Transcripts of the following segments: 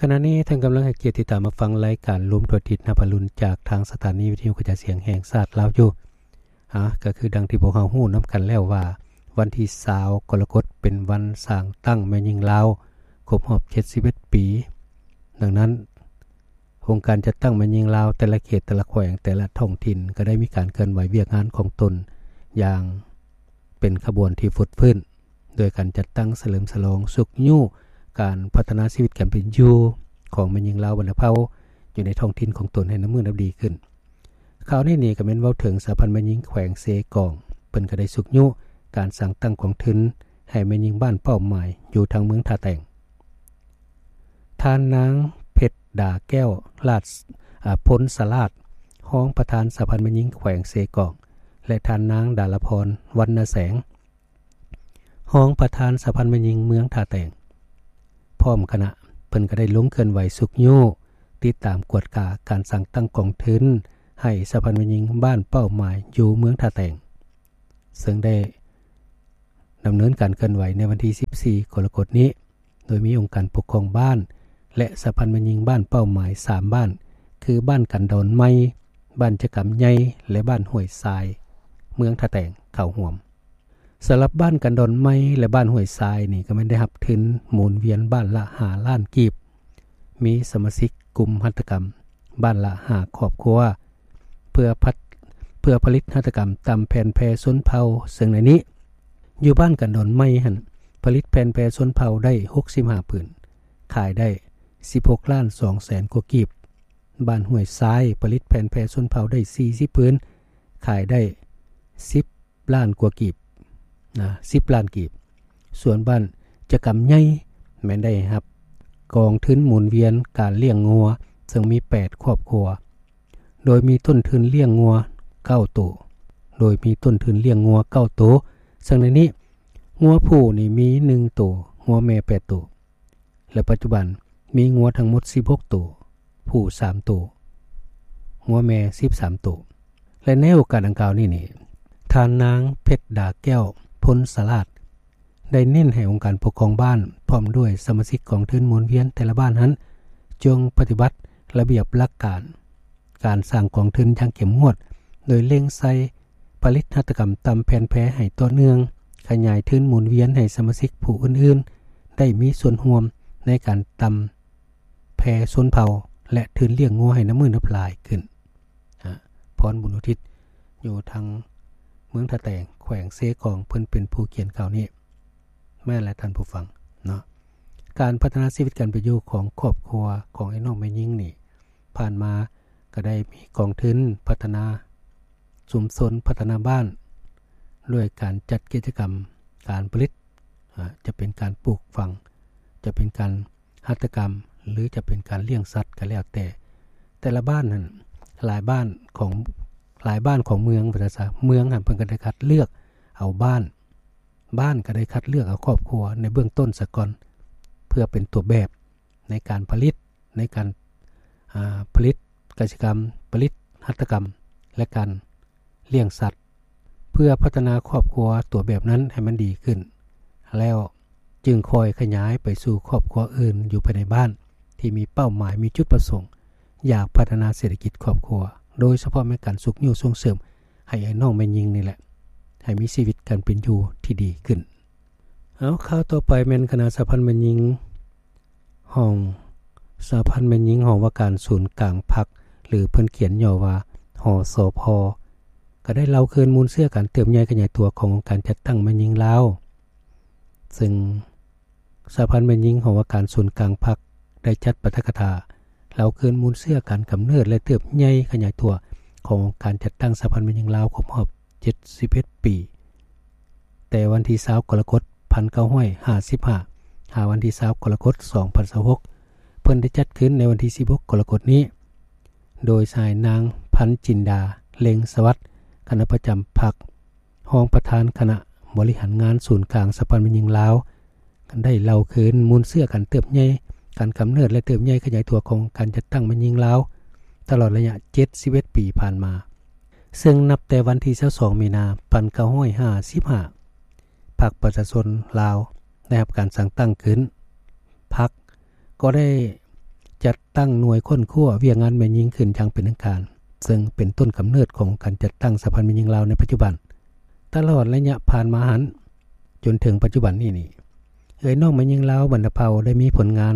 ຂະນະນີ້ທ່ານກຳລັງໃຫ້ກຽດຕິດຕາມມາຟັງລາຍການລວມທົ່ວທິດນຳອະລຸນ ຈາກທາງສະຖານີວິທະຍຸກະຈາຍສຽງແຫ່ງຊາດລາວຢູ່. ອາ ກໍຄືດັ່ງທີ່ພວກເຮົາຮູ້ນຳກັນແລ້ວວ່າ ວັນທີຊາວກໍລະກົດເປັນວັນສ້າງຕັ້ງແມ່ຍິງລາວຄົບຮອບເຈັດສິບເອັດປີ. ດັ່ງນັ້ນ ອົງການຈັດຕັ້ງແມ່ຍິງລາວແຕ່ລະເຂດ ແຕ່ລະແຂວງ ແຕ່ລະທ້ອງຖິ່ນ ກໍໄດ້ມີການເຄື່ອນໄຫວວຽກງານຂອງຕົນຢ່າງເປັນຂະບວນທີ່ຟົດຟື້ນ ໂດຍການຈັດຕັ້ງສະເຫຼີມສະຫຼອງຊຸກຍູ້ການພັດທະນາຊີວິດການເປັນຢູ່ຂອງແມ່ຍິງລາວບັນດາເຜົ່າຢູ່ໃນທ້ອງຖິ່ນຂອງຕົນໃຫ້ນັບມື້ນັບດີຂຶ້ນ. ຄາວນີ້ນີ້ກໍແມ່ນເວົ້າເຖິງສະຫະພັນແມ່ຍິງແຂວງເຊກອງ, ເພິ່ນກໍໄດ້ຊຸກຍູ້ການສ້າງຕັ້ງກອງທຶນໃຫ້ແມ່ຍິງບ້ານເປົ້າໝາຍຢູ່ທາງເມືອງທ່າແຕງ. ທ່ານນາງ ເພັດດາແກ້ວ ລາດ ອາ ພົນສະຫຼາດ ຮອງປະທານສະຫະພັນແມ່ຍິງແຂວງເຊກອງ ແລະ ທ່ານນາງ ດາລະພອນ ວັນນະແສງ ຮອງປະທານສະຫະພັນແມ່ຍິງເມືອງທ່າແຕງ ພ້ອມຄະນະ ເພິ່ນກໍໄດ້ລົງເຄື່ອນໄຫວຊຸກຍູ້ ຕິດຕາມກວດກາການສ້າງຕັ້ງກອງທຶນໃຫ້ສະຫະພັນແມ່ຍິງບ້ານເປົ້າໝາຍຢູ່ເມືອງທ່າແຕງ ເຊິ່ງໄດ້ດຳເນີນການເຄື່ອນໄຫວໃນວັນທີສິບສີ່ກໍລະກົດນີ້ ໂດຍມີອົງການປົກຄອງບ້ານ ແລະ ສະຫະພັນແມ່ຍິງບ້ານເປົ້າໝາຍສາມບ້ານ ຄື ບ້ານກັນດອນໃໝ່, ບ້ານຈະກຳໃຫຍ່ ແລະ ບ້ານຫ້ວຍຊາຍ ເມືອງທ່າແຕງ ເຂົ້າຮ່ວມ. ສຳລັບບ້ານກັນດອນໃໝ່ ແລະ ບ້ານຫ້ວຍຊາຍນີ້ ກໍແມ່ນໄດ້ຮັບທຶນໝູນວຽນບ້ານລະຫ້າລ້ານກີບ, ມີສະມາຊິກກຸ່ມຫັດຖະກຳບ້ານລະຫ້າຄອບຄົວ ເພື່ອພັດ ເພື່ອຜະລິດຫັດຖະກຳຕາມແຜນແພຊົນເຜົ່າ, ເຊິ່ງໃນນີ້ ຢູ່ບ້ານກັນດອນໃໝ່ຫັ້ນ ຜະລິດແຜ່ນແພຊົນເຜົ່າໄດ້ຫົກສິບຫ້າຜືນ, ຂາຍໄດ້ສິບຫົກລ້ານສອງແສນກວ່າກີບ. ບ້ານຫ້ວຍຊາຍ ຜະລິດແຜ່ນແພຊົນເຜົ່າໄດ້ສີ່ສິບຜືນ, ຂາຍໄດ້ສິບລ້ານກວ່າກີບ ນະ ສິບລ້ານກີບ. ສ່ວນບ້ານຈະກຳໃຫຍ່ ແມ່ນໄດ້ຮັບກອງທຶນໝູນວຽນການລ້ຽງງົວ ເຊິ່ງມີແປດຄອບຄົວ ໂດຍມີຕົ້ນທຶນລ້ຽງງົວເກົ້າໂຕ, ໂດຍມີຕົ້ນທຶນລ້ຽງງົວເກົ້າໂຕ, ເຊິ່ງໃນນີ້ ງົວຜູ້ນີ້ມີໜຶ່ງໂຕ, ງົວແມ່ແປດໂຕ ແລະ ປັດຈຸບັນມີງົວທັງໝົດສິບຫົກໂຕ, ຜູ້ສາມໂຕ, ງົວແມ່ສິບສາມໂຕ. ແລະ ໃນໂອກາດດັ່ງກ່າວນີ້ນີ້ ທ່ານນາງ ເພັດດາແກ້ວ ພົນສະຫຼາດ ໄດ້ເນັ້ນໃຫ້ອົງການປົກຄອງບ້ານ ພ້ອມດ້ວຍສະມາຊິກກອງທຶນໝູນວຽນແຕ່ລະບ້ານຫັ້ນ ຈົ່ງປະຕິບັດລະບຽບຫຼັກການການສ້າງກອງທຶນຢ່າງເຂັ້ມງວດ, ໂດຍເລັ່ງໃສ່ຜະລິດຫັດຖະກຳຕາມແຜນແພໃຫ້ຕໍ່ເນື່ອງ, ຂະຫຍາຍທຶນໝູນວຽນໃຫ້ສະມາຊິກຜູ້ອື່ນໆ ໄດ້ມີສ່ວນຮ່ວມໃນການຕາມແພຊົນເຜົ່າ ແລະ ທຶນລ້ຽງງົວໃຫ້ນັບມື້ນັບຫຼາຍຂຶ້ນ. ອາ ພອນບຸນອຸທິດ ຢູ່ທາງເມືອງທ່າແຕງ ແຂວງເຊກອງ ເພິ່ນເປັນຜູ້ຂຽນຂ່າວນີ້. ແມ່ນແຫຼະທ່ານຜູ້ຟັງເນາະ, ການພັດທະນາຊີວິດການເປັນຢູ່ຂອງຄອບຄົວຂອງອ້າຍນ້ອງແມ່ຍິງນີ້ ຜ່ານມາກໍໄດ້ມີກອງທຶນພັດທະນາຊຸມຊົນ, ພັດທະນາບ້ານ ດ້ວຍການຈັດກິດຈະກຳການຜະລິດ, ອາ ຈະເປັນການປູກຝັງ, ຈະເປັນການຫັດຖະກຳ ຫຼື ຈະເປັນການລ້ຽງສັດກໍແລ້ວແຕ່. ແຕ່ລະບ້ານນັ້ນ ຫຼາຍບ້ານຂອງ ຫຼາຍບ້ານຂອງເມືອງ ວ່າຊັ້ນຊະ, ເມືອງຫັ້ນເພິ່ນກໍໄດ້ຄັດເລືອກເອົາບ້ານ, ບ້ານກໍໄດ້ຄັດເລືອກເອົາຄອບຄົວໃນເບື້ອງຕົ້ນສາກ່ອນ ເພື່ອເປັນຕົວແບບໃນການຜະລິດ, ໃນການ ອາ ຜະລິດກະສິກຳ, ຜະລິດຫັດຖະກຳ ແລະ ການລ້ຽງສັດ ເພື່ອພັດທະນາຄອບຄົວຕົວແບບນັ້ນໃຫ້ມັນດີຂຶ້ນ ແລ້ວຈຶ່ງຄ່ອຍຂະຫຍາຍໄປສູ່ຄອບຄົວອື່ນຢູ່ພາຍໃນບ້ານ ທີ່ມີເປົ້າໝາຍ, ມີຈຸດປະສົງ ຢາກພັດທະນາເສດຖະກິດຄອບຄົວ, ໂດຍສະເພາະແມ່ນການຊຸກຍູ້ສົ່ງເສີມໃຫ້ອ້າຍນ້ອງແມ່ຍິງນີ້ແຫຼະ ໃຫ້ມີຊີວິດການເປັນຢູ່ທີ່ດີຂຶ້ນ. ເອົາ ຂ່າວຕໍ່ໄປແມ່ນຄະນະສະຫະພັນແມ່ຍິງຫ້ອງ ສະຫະພັນແມ່ຍິງຫ້ອງວ່າການສູນກາງພັກ ຫຼື ເພິ່ນຂຽນຫຍໍ້ວ່າ ຫສພ ກໍໄດ້ເລົ່າຄືນມູນເຊື້ອການເຕີບໃຫຍ່ຂະຫຍາຍຕົວຂອງອົງການຈັດຕັ້ງແມ່ຍິງລາວ. ເຊິ່ງສະຫະພັນແມ່ຍິງຫ້ອງວ່າການສູນກາງພັກ ໄດ້ຈັດປາຖະກະຖາເລົ່າຄືນມູນເຊື້ອການກຳເນີດ ແລະ ເຕີບໃຫຍ່ຂະຫຍາຍຕົວຂອງອົງການຈັດຕັ້ງສະຫະພັນແມ່ຍິງລາວຄົບຮອບເຈັດສິບເອັດປີ ແຕ່ວັນທີຊາວກໍລະກົດ ພັນເກົ້າຮ້ອຍຫ້າສິບຫ້າ ຫາວັນທີຊາວກໍລະກົດ ສອງພັນຊາວຫົກ ເພິ່ນໄດ້ຈັດຂຶ້ນໃນວັນທີສິບຫົກກໍລະກົດນີ້ ໂດຍສະຫາຍນາງ ພັນຈິນດາ ເລັງສະຫວັດ ຄະນະປະຈຳພັກ ຮອງປະທານຄະນະບໍລິຫານງານສູນກາງສະຫະພັນແມ່ຍິງລາວ ໄດ້ເລົ່າຄືນມູນເຊື້ອການເຕີບໃຫຍ່ ການກຳເນີດ ແລະ ເຕີບໃຫຍ່ຂະຫຍາຍຕົວຂອງການຈັດຕັ້ງແມ່ຍິງລາວ ຕະຫຼອດໄລຍະເຈັດສິບເອັດປີຜ່ານມາ. ເຊິ່ງນັບແຕ່ວັນທີຊາວສອງ ມີນາ ພັນເກົ້າຮ້ອຍຫ້າສິບຫ້າ ພັກປະຊາຊົນລາວໄດ້ຮັບການສ້າງຕັ້ງຂຶ້ນ, ພັກກໍໄດ້ ຈັດຕັ້ງໜ່ວຍຄົ້ນຄວ້າວຽກງານແມ່ຍິງຂຶ້ນຢ່າງເປັນທາງການ, ເຊິ່ງເປັນຕົ້ນກຳເນີດຂອງການຈັດຕັ້ງສະຫະພັນແມ່ຍິງລາວໃນປັດຈຸບັນ. ຕະຫຼອດໄລຍະຜ່ານມາຫັ້ນ ຈົນເຖິງປັດຈຸບັນນີ້ນີ້ ເອື້ອຍນ້ອງແມ່ຍິງລາວບັນດາເຜົ່າໄດ້ມີຜົນງານ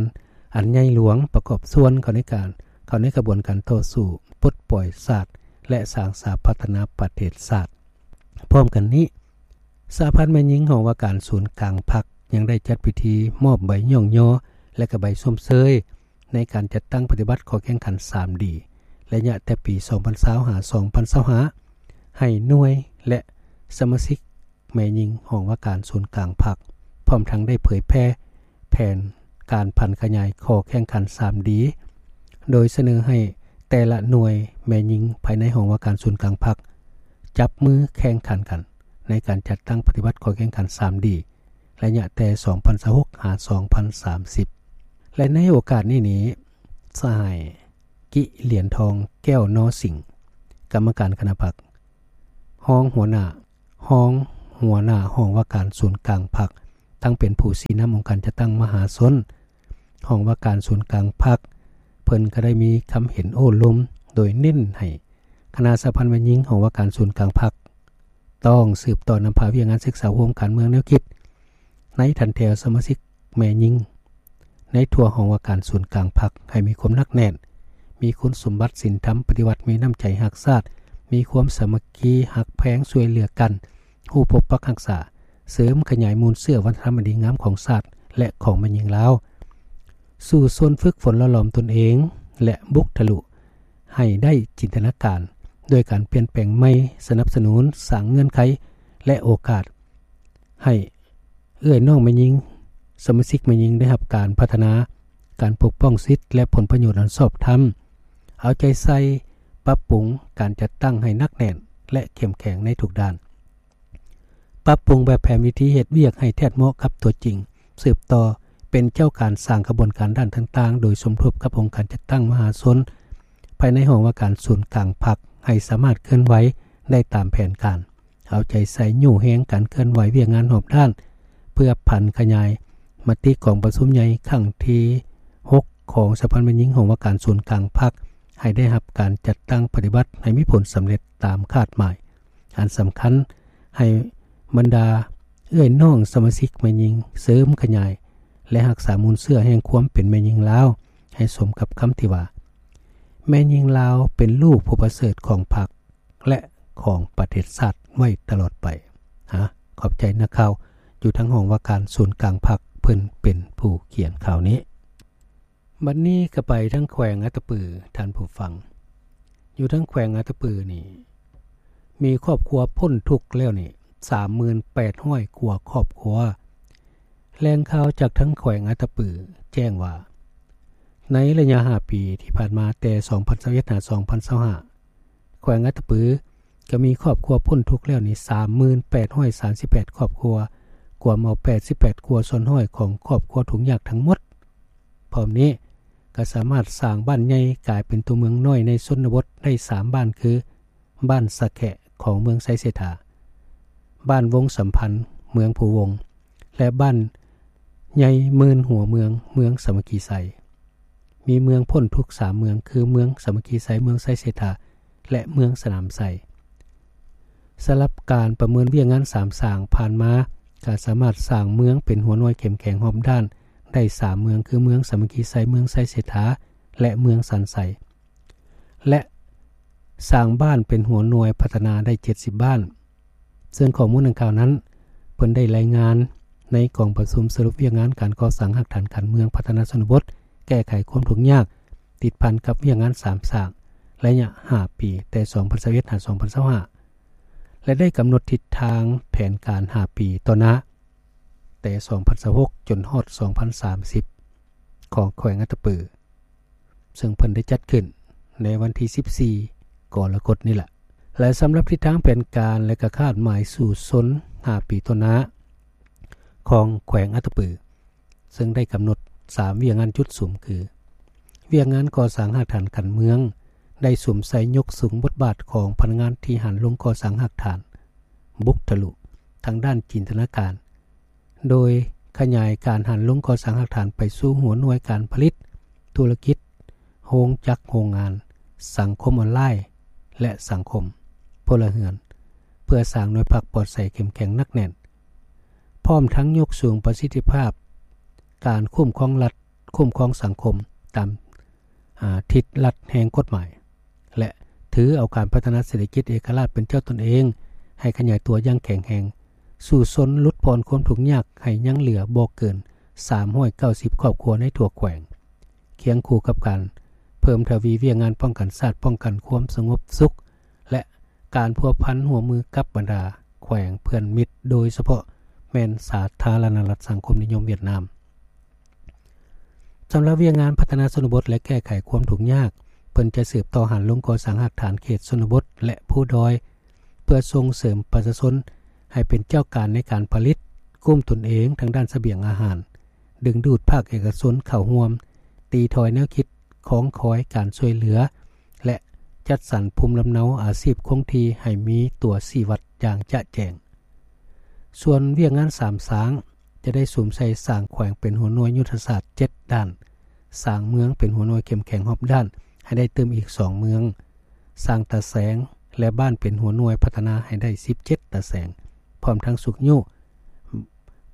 ອັນໃຫຍ່ຫຼວງປະກອບສ່ວນເຂົ້າໃນການ ເຂົ້າໃນຂະບວນການຕໍ່ສູ້ປົດປ່ອຍຊາດ ແລະ ສ້າງສາພັດທະນາປະເທດຊາດ. ພ້ອມກັນນີ້, ສະຫະພັນແມ່ຍິງຫ້ອງວ່າການສູນກາງພັກ ຍັງໄດ້ຈັດພິທີມອບໃບຍ້ອງຍໍ ແລະ ກະໃບຊົມເຊີຍ ໃນການຈັດຕັ້ງປະຕິບັດຂໍ້ແຂ່ງຂັນ ສາມດີ ໄລຍະແຕ່ປີສອງພັນຊາວ ຫາ ສອງພັນຊາວຫ້າ ໃຫ້ໜ່ວຍ ແລະ ສະມາຊິກແມ່ຍິງຫ້ອງວ່າການສູນກາງພັກ, ພ້ອມທັງໄດ້ເຜີຍແຜ່ແຜນການຜັນຂະຫຍາຍຂໍ້ແຂ່ງຂັນ ສາມດີ ໂດຍສະເໜີໃຫ້ແຕ່ລະໜ່ວຍແມ່ຍິງພາຍໃນຫ້ອງວ່າການສູນກາງພັກ ຈັບມືແຂ່ງຂັນກັນໃນການຈັດຕັ້ງປະຕິບັດຂໍ້ແຂ່ງຂັນ ສາມດີ ໄລຍະແຕ່ສອງພັນຊາວຫົກ ຫາ ສອງພັນສາມສິບ. ແລະ ໃນໂອກາດນີ້ນີ້ ສະຫາຍ ກິ ຫຼຽນທອງ ແກ້ວນໍສິງ ກຳມະການຄະນະພັກ, ຮອງຫົວໜ້າ, ຮອງຫົວໜ້າຫ້ອງວ່າການສູນກາງພັກ, ທັງເປັນຜູ້ຊີ້ນຳອົງການຈັດຕັ້ງມະຫາຊົນ ຫ້ອງວ່າການສູນກາງພັກ, ເພິ່ນກໍໄດ້ມີຄຳເຫັນໂອ້ລົມ ໂດຍເນັ້ນໃຫ້ຄະນະສະຫະພັນແມ່ຍິງຫ້ອງວ່າການສູນກາງພັກ ຕ້ອງສືບຕໍ່ນຳພາວຽກງານສຶກສາໂຮມການເມືອງແນວຄິດ ໃນຖັນແຖວສະມາຊິກແມ່ຍິງ ໃນທົ່ວຫ້ອງວ່າການສູນກາງພັກ ໃຫ້ມີຄວາມໜັກແໜ້ນ, ມີຄຸນສົມບັດສິນທຳປະຕິວັດ, ມີນ້ຳໃຈຮັກຊາດ, ມີຄວາມສາມັກຄີຮັກແພງຊ່ວຍເຫຼືອກັນ, ຮູ້ປົກປັກຮັກສາ, ເສີມຂະຫຍາຍມູນເຊື້ອວັດທະນະທຳອັນດີງາມຂອງຊາດ ແລະ ຂອງແມ່ຍິງລາວ, ສູ້ຊົນຝຶກຝົນຫຼໍ່ຫຼອມຕົນເອງ ແລະ ບຸກທະລຸ ໃຫ້ໄດ້ຈິນຕະນາການ ດ້ວຍການປ່ຽນແປງໃໝ່, ສະໜັບສະໜູນ, ສ້າງເງື່ອນໄຂ ແລະ ໂອກາດ ໃຫ້ເອື້ອຍນ້ອງແມ່ຍິງ, ສະມາຊິກແມ່ຍິງໄດ້ຮັບການພັດທະນາ, ການປົກປ້ອງສິດ ແລະ ຜົນປະໂຫຍດອັນຊອບທຳ, ເອົາໃຈໃສ່ປັບປຸງການຈັດຕັ້ງໃຫ້ໜັກແໜ້ນ ແລະ ເຂັ້ມແຂງໃນທຸກດ້ານ, ປັບປຸງແບບແຜນວິທີເຮັດວຽກໃຫ້ແທດເໝາະກັບຕົວຈິງ, ສືບຕໍ່ເປັນເຈົ້າການສ້າງຂະບວນການດ້ານຕ່າງໆ ໂດຍສົມທົບກັບອົງການຈັດຕັ້ງມະຫາຊົນ ພາຍໃນຫ້ອງວ່າການສູນກາງພັກ ໃຫ້ສາມາດເຄື່ອນໄຫວໄດ້ຕາມແຜນການ. ເອົາໃຈໃສ່ຍູ້ແຮງການເຄື່ອນໄຫວວຽກງານຮອບດ້ານ ເພື່ອຜັນຂະຫຍາຍມະຕິກອງປະຊຸມໃຫຍ່ຄັ້ງທີຫົກ ຂອງສະຫະພັນແມ່ຍິງຫ້ອງວ່າການສູນກາງພັກ ໃຫ້ໄດ້ຮັບການຈັດຕັ້ງປະຕິບັດໃຫ້ມີຜົນສຳເລັດຕາມຄາດໝາຍ. ອັນສຳຄັນ ໃຫ້ບັນດາເອື້ອຍນ້ອງສະມາຊິກແມ່ຍິງເສີມຂະຫຍາຍ ແລະ ຮັກສາມູນເຊື້ອແຫ່ງຄວາມເປັນແມ່ຍິງລາວ ໃຫ້ສົມກັບຄຳທີ່ວ່າ ແມ່ຍິງລາວເປັນລູກຜູ້ປະເສີດຂອງພັກ ແລະ ຂອງປະເທດຊາດໄວ້ຕະຫຼອດໄປ. ຮະ ຂອບໃຈນັກຂ່າວຢູ່ທາງຫ້ອງວ່າການສູນກາງພັກ ເພິ່ນເປັນຜູ້ຂຽນຂ່າວນີ້. ບັດນີ້ກໍໄປທາງແຂວງອັດຕະປື ທ່ານຜູ້ຟັງ. ຢູ່ທາງແຂວງອັດຕະປືນີ້ ມີຄອບຄົວພົ້ນທຸກແລ້ວນີ້ ສາມໝື່ນແປດຮ້ອຍກວ່າຄອບຄົວ. ແຫຼ່ງຂ່າວຈາກທາງແຂວງອັດຕະປືແຈ້ງວ່າ ໃນໄລຍະຫ້າປີທີ່ຜ່ານມາ ແຕ່ສອງພັນຊາວເອັດ ຫາ ສອງພັນຊາວຫ້າ ແຂວງອັດຕະປືກໍມີຄອບຄົວພົ້ນທຸກແລ້ວນີ້ ສາມໝື່ນແປດຮ້ອຍສາມສິບແປດຄອບຄົວ, ກວມເອົາແປດສິບແປດກວ່າສ່ວນຮ້ອຍຂອງຄອບຄົວທຸກຍາກທັງໝົດ. ພ້ອມນີ້ກໍສາມາດສ້າງບ້ານໃຫຍ່ກາຍເປັນຕົວເມືອງນ້ອຍໃນຊົນນະບົດໄດ້ສາມບ້ານ ຄື ບ້ານສະແຂະ ຂອງເມືອງໄຊເສດຖາ, ບ້ານວົງສຳພັນ ເມືອງພູວົງ ແລະ ບ້ານໃຫຍ່ໝື່ນຫົວເມືອງ ເມືອງສາມັກຄີໄຊ. ມີເມືອງພົ້ນທຸກສາມເມືອງ ຄື ເມືອງສາມັກຄີໄຊ, ເມືອງໄຊເສດຖາ ແລະ ເມືອງສະໜາມໄຊ. ສຳລັບການປະເມີນວຽກງານສາມສ້າງຜ່ານມາ ກໍສາມາດສ້າງເມືອງເປັນຫົວໜ່ວຍເຂັ້ມແຂງຮອບດ້ານໄດ້ສາມເມືອງ ຄື ເມືອງສາມັກຄີໄຊ, ເມືອງໄຊເສດຖາ ແລະ ເມືອງສັນໄຊ. ແລະ ສ້າງບ້ານເປັນຫົວໜ່ວຍພັດທະນາໄດ້ເຈັດສິບບ້ານ. ເຊິ່ງຂໍ້ມູນດັ່ງກ່າວນັ້ນ ເພິ່ນໄດ້ລາຍງານໃນກອງປະຊຸມສະຫຼຸບວຽກງານການກໍ່ສ້າງຮາກຖານການເມືອງພັດທະນາຊົນນະບົດ ແກ້ໄຂຄວາມທຸກຍາກ ຕິດພັນກັບວຽກງານສາມສ້າງ ໄລຍະຫ້າປີ ແຕ່ສອງພັນຊາວເອັດ ຫາ ສອງພັນຊາວຫ້າ ແລະ ໄດ້ກຳນົດທິດທາງແຜນການຫ້າປີຕໍ່ໜ້າ ແຕ່ສອງພັນຊາວຫົກ ຈົນຮອດສອງພັນສາມສິບ ຂອງແຂວງອັດຕະປື ເຊິ່ງເພິ່ນໄດ້ຈັດຂຶ້ນໃນວັນທີສິບສີ່ ກໍລະກົດນີ້ລະ ແລະ ສຳລັບທິດທາງແຜນການ ແລະ ກະຄາດໝາຍສູ້ຊົນຫ້າປີຕໍ່ໜ້າຂອງແຂວງອັດຕະປື ເຊິ່ງໄດ້ກຳນົດສາມວຽກງານຈຸດສຸມ ຄື ວຽກງານກໍ່ສ້າງຮາກຖານການເມືອງ ໄດ້ສຸມໃສ່ຍົກສູງບົດບາດຂອງພະນັກງານທີ່ຫັນລົງກໍ່ສ້າງຮາກຖານ ບຸກທະລຸທາງດ້ານຈິນຕະນາການ ໂດຍຂະຫຍາຍການຫັນລົງກໍ່ສ້າງຮາກຖານໄປສູ່ຫົວໜ່ວຍການຜະລິດ, ທຸລະກິດ, ໂຮງຈັກໂຮງງານ, ສັງຄົມອອນລາຍ ແລະ ສັງຄົມພົນລະເຮືອນ ເພື່ອສ້າງໜ່ວຍພັກປອດໃສເຂັ້ມແຂງໜັກແໜ້ນ, ພ້ອມທັງຍົກສູງປະສິດທິພາບການຄຸ້ມຄອງລັດ, ຄຸ້ມຄອງສັງຄົມຕາມ ອາ ທິດລັດແຫ່ງກົດໝາຍ ແລະ ຖືເອົາການພັດທະນາເສດຖະກິດເອກະລາດເປັນເຈົ້າຕົນເອງໃຫ້ຂະຫຍາຍຕົວຢ່າງແຂງແຮງ, ສູ້ຊົນຫຼຸດຜ່ອນຄວາມທຸກຍາກໃຫ້ຍັງເຫຼືອບໍ່ເກີນສາມຮ້ອຍເກົ້າສິບຄອບຄົວໃນທົ່ວແຂວງ, ຄຽງຄູ່ກັບການເພີ່ມທະວີວຽກງານປ້ອງກັນຊາດ, ປ້ອງກັນຄວາມສະຫງົບສຸກ ແລະ ການພົວພັນຮ່ວມມືກັບບັນດາແຂວງເພື່ອນມິດ, ໂດຍສະເພາະແມ່ນສາທາລະນະລັດສັງຄົມນິຍົມຫວຽດນາມ. ສຳລັບວຽກງານພັດທະນາຊົນນະບົດ ແລະ ແກ້ໄຂຄວາມທຸກຍາກ, ເພິ່ນຈະສືບຕໍ່ຫັນລົງກໍ່ສ້າງຮາກຖານເຂດຊົນນະບົດ ແລະ ພູດອຍ ເພື່ອສົ່ງເສີມປະຊາຊົນໃຫ້ເປັນເຈົ້າການໃນການຜະລິດ, ກຸ້ມຕົນເອງທາງດ້ານສະບຽງອາຫານ, ດຶງດູດພາກເອກະຊົນເຂົ້າຮ່ວມ, ຕີຖອຍແນວຄິດຂອງຄອຍການຊ່ວຍເຫຼືອ ແລະ ຈັດສັນພູມລຳເນົາອາຊີບຄົງທີ່ໃຫ້ມີຕົວຊີ້ວັດຢ່າງຈະແຈ້ງ. ສ່ວນວຽກງານສາມສ້າງ ຈະໄດ້ສຸມໃສ່ສ້າງແຂວງເປັນຫົວໜ່ວຍຍຸດທະສາດເຈັດດ້ານ, ສ້າງເມືອງເປັນຫົວໜ່ວຍເຂັ້ມແຂງຮອບດ້ານໃຫ້ໄດ້ຕື່ມອີກສອງເມືອງ, ສ້າງຕາແສງ ແລະ ບ້ານເປັນຫົວໜ່ວຍພັດທະນາໃຫ້ໄດ້ສິບເຈັດຕາແສງ, ພ້ອມທັງຊຸກຍູ້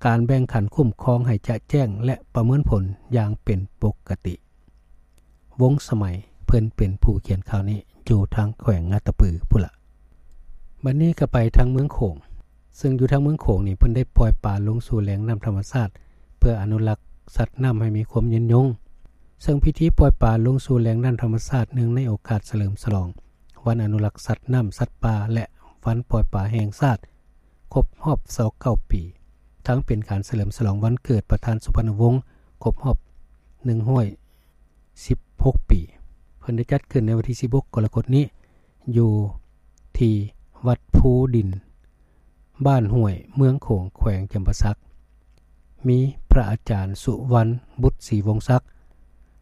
ການແບ່ງຂັ້ນຄຸ້ມຄອງໃຫ້ຈະແຈ້ງ ແລະ ປະເມີນຜົນຢ່າງເປັນປົກກະຕິ. ວົງສະໄໝ ເພິ່ນເປັນຜູ້ຂຽນຂ່າວນີ້ ຢູ່ທາງແຂວງອັດຕະປືພຸ້ນລະ. ບັດນີ້ກໍໄປທາງເມືອງໂຂງ, ເຊິ່ງຢູ່ທາງເມືອງໂຂງນີ້ ເພິ່ນໄດ້ປ່ອຍປາລົງສູ່ແຫຼ່ງນ້ຳທຳມະຊາດ ເພື່ອອະນຸລັກສັດນ້ຳໃຫ້ມີຄວາມຍືນຍົງ. ເຊິ່ງພິທີປ່ອຍປາລົງສູ່ແຫຼ່ງນ້ຳທຳມະຊາດ ເນື່ອງໃນໂອກາດສະເຫຼີມສະຫຼອງວັນອະນຸລັກສັດນ້ຳ, ສັດປ່າ ແລະ ວັນປ່ອຍປາແຫ່ງຊາດ ຄົບຮອບຊາວເກົ້າປີ, ທັງເປັນການສະເຫຼີມສະຫຼອງວັນເກີດປະທານສຸພັນນະວົງ ຄົບຮອບໜຶ່ງຮ້ອຍ ສິບຫົກປີ. ເພິ່ນໄດ້ຈັດຂຶ້ນໃນວັນທີສິບຫົກກໍລະກົດນີ້ ຢູ່ທີ່ວັດພູດິນ ບ້ານຫ້ວຍ ເມືອງໂຂງ ແຂວງຈຳປາສັກ. ມີພະອາຈານ ສຸວັນ ບຸດສີວົງສັກ,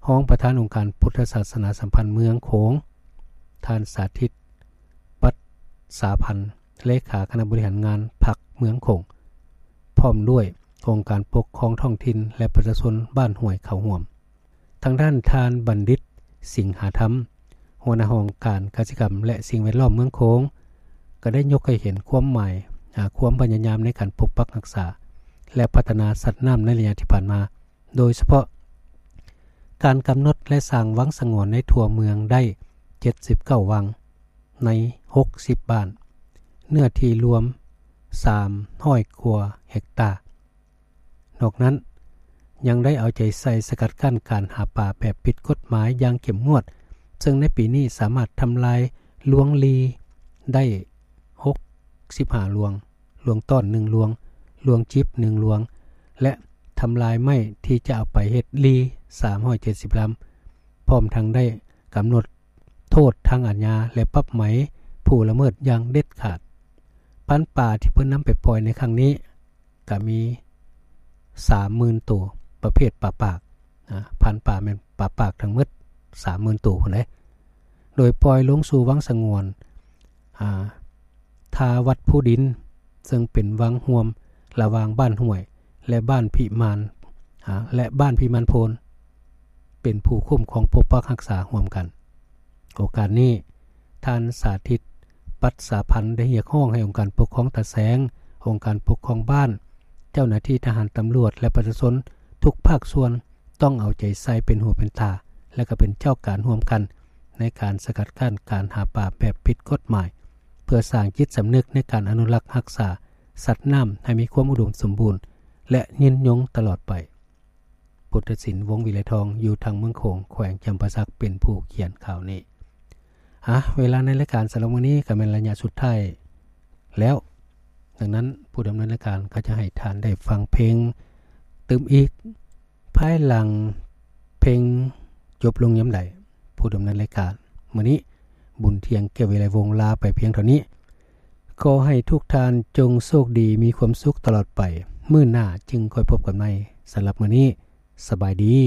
ຮອງປະທານອົງການພຸດທະສາສະໜາສຳພັນເມືອງໂຂງ, ທ່ານ ສາທິດ ປັດສາພັນ, ເລຂາຄະນະບໍລິຫານງານພັກເມືອງໂຂງ, ພ້ອມດ້ວຍອົງການປົກຄອງທ້ອງຖິ່ນ ແລະ ປະຊາຊົນບ້ານຫ້ວຍເຂົ້າຮ່ວມ. ທາງດ້ານທ່ານ ບັນດິດ ສິງຫາທຳ, ຫົວໜ້າຫ້ອງການກະສິກຳ ແລະ ສິ່ງແວດລ້ອມເມືອງໂຂງ, ກໍໄດ້ຍົກໃຫ້ເຫັນຄວາມໝາຍ, ອາ, ຄວາມພະຍາຍາມໃນການປົກປັກຮັກສາ ແລະ ພັດທະນາສັດນ້ຳໃນໄລຍະທີ່ຜ່ານມາ, ໂດຍສະເພາະການກຳນົດ ແລະ ສ້າງວັງສະຫງວນໃນທົ່ວເມືອງໄດ້ເຈັດສິບເກົ້າວັງ ໃນຫົກສິບບ້ານ, ເນື້ອທີ່ລວມສາມຮ້ອຍກວ່າເຮັກຕາ. ນອກນັ້ນ ຍັງໄດ້ເອົາໃຈໃສ່ສະກັດກັ້ນການຫາປາແບບຜິດກົດໝາຍຢ່າງເຂັ້ມງວດ, ເຊິ່ງໃນປີນີ້ສາມາດທຳລາຍລວງລີໄດ້ຫົກສິບຫ້າລວງ, ລວງຕ້ອນໜຶ່ງລວງ, ລວງຈິບໜຶ່ງລວງ ແລະ ທຳລາຍໄມ້ທີ່ຈະເອົາໄປເຮັດລີສາມຮ້ອຍເຈັດສິບລຳ, ພ້ອມທັງໄດ້ກຳນົດໂທດທາງອາຍາ ແລະ ປັບໃໝຜູ້ລະເມີດຢ່າງເດັດຂາດ. ພັນປາທີ່ເພິ່ນນຳໄປປ່ອຍໃນຄັ້ງນີ້ ກະມີສາມໝື່ນໂຕ ປະເພດປາປາກ, ອາ, ພັນປາແມ່ນປາປາກທັງໝົດສາມໝື່ນໂຕພຸ້ນເດ້, ໂດຍປ່ອຍລົງສູ່ວັງສະຫງວນ ອາ, ທ່າວັດພູດິນ, ເຊິ່ງເປັນວັງຮ່ວມລະຫວ່າງບ້ານຫ້ວຍ ແລະ ບ້ານພິມານ, ອາ, ແລະ ບ້ານພິມານໂພນ ເປັນຜູ້ຄຸ້ມຄອງປົກປັກຮັກສາຮ່ວມກັນ. ໂອກາດນີ້ ທ່ານ ສາທິດ ປັດສາພັນ ໄດ້ຮຽກຮ້ອງໃຫ້ອົງການປົກຄອງຕາແສງ, ອົງການປົກຄອງບ້ານ, ເຈົ້າໜ້າທີ່ທະຫານ, ຕຳຫຼວດ ແລະ ປະຊາຊົນທຸກພາກສ່ວນ ຕ້ອງເອົາໃຈໃສ່ເປັນຫູເປັນຕາ ແລະ ກໍເປັນເຈົ້າການຮ່ວມກັນ ໃນການສະກັດກັ້ນການຫາປາແບບຜິດກົດໝາຍ, ເພື່ອສ້າງຈິດສຳນຶກໃນການອະນຸລັກຮັກສາສັດນ້ຳໃຫ້ມີຄວາມອຸດົມສົມບູນ ແລະ ຍືນຍົງຕະຫຼອດໄປ. ພຸດທະສິນ ວົງວິໄລທອງ ຢູ່ທາງເມືອງໂຂງ ແຂວງຈຳປາສັກ ເປັນຜູ້ຂຽນຂ່າວນີ້. ອາ, ເວລາໃນລາຍການສຳລັບມື້ນີ້ກໍແມ່ນໄລຍະສຸດທ້າຍແລ້ວ, ດັ່ງນັ້ນ ຜູ້ດຳເນີນລາຍການກໍຈະໃຫ້ທ່ານໄດ້ຟັງເພງຕື່ມອີກ ພາຍຫຼັງເພງຈົບລົງຍາມໃດ. ຜູ້ດຳເນີນລາຍການມື້ນີ້ ບຸນທ່ຽງ ແກ້ວວິໄລວົງ ລາໄປພຽງເທົ່ານີ້. ຂໍໃຫ້ທຸກທ່ານຈົ່ງໂຊກດີ, ມີຄວາມສຸກຕະຫຼອດໄປ. ມື້ໜ້າຈຶ່ງຄ່ອຍພົບກັນໃໝ່. ສຳລັບມື້ນີ້ ສະບາຍດີ.